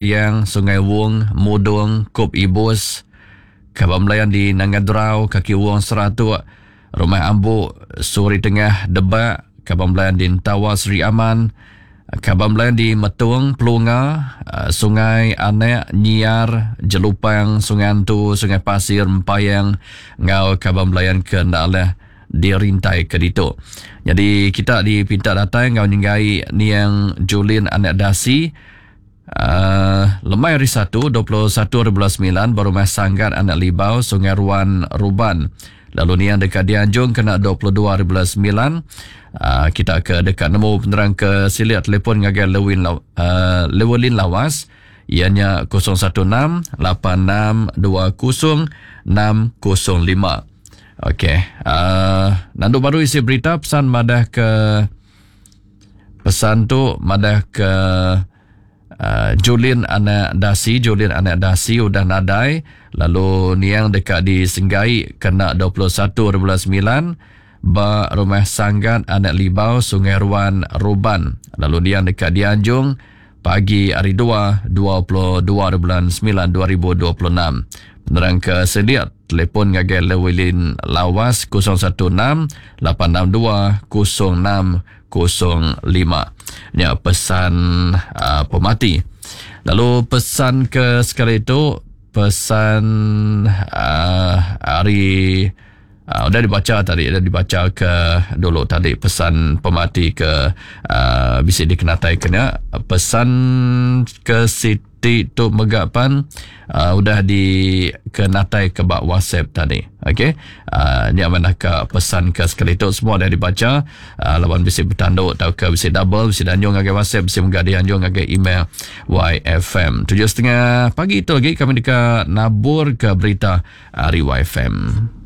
Yang Sungai Wong, Mudong, Kup Ibus, Kaban Belayan di Nanga Drau, Kaki Wong Seratuk, Rumah Ambuk, Suri Tengah, Debak, Kaban Belayan di Entawa Sri Aman, Kaban Belayan di Metung, Pelunga, Sungai Anak, Nyiar, Jelupang, Sungai Antu, Sungai Pasir, Empayang enggau kaban belayan ke enda alah dirintai ke ditu. Nyadi kita dipinta datai enggau nyenggai niang Julin Anak Dasi, Uh, lemai hari Satu, 21 hari bulan 9, ba rumah Sanggat Anak Libau, Sungai Ruan, Ruban. Lalu niang deka dianjung kena 22 hari bulan 9. Uh, kita ke deka nemu penerang ke silik telefon ngagai Lewin uh, Lewelin Lawas ianya 016 86 20 605. Okey, uh, nandu baru isi berita pesan madah ke Pesan tu madah ke uh, Julin anak Dasi, Julin anak Dasi udah nadai lalu niang deka disenggai kena 21 bulan 9 ba Rumah Sanggat Anak Libau Sungai Ruan Ruban lalu niang deka dianjung pagi hari 2 22 bulan 9 2026. Penerang ke sedia telefon ngagai Lewilin Lawas 016 862 0605. Nya pesan uh, pemati. Lalu pesan ke sekali itu pesan uh, hari uh, udah dibaca tadi udah dibaca ke dulu tadi pesan pemati ke uh, bisi dikenatai kena pesan ke sit Ti tu mega pan uh, udah di kenatai ke ba WhatsApp tadi. Okey. Uh, nya manah ka pesan ke sekali tu semua dah dibaca uh, laban bisi betandu tauka bisi double bisi dianjung ngagai WhatsApp bisi mega dianjung ngagai email YFM. 7.30 pagi tu lagi kami deka nabur ke berita ari YFM.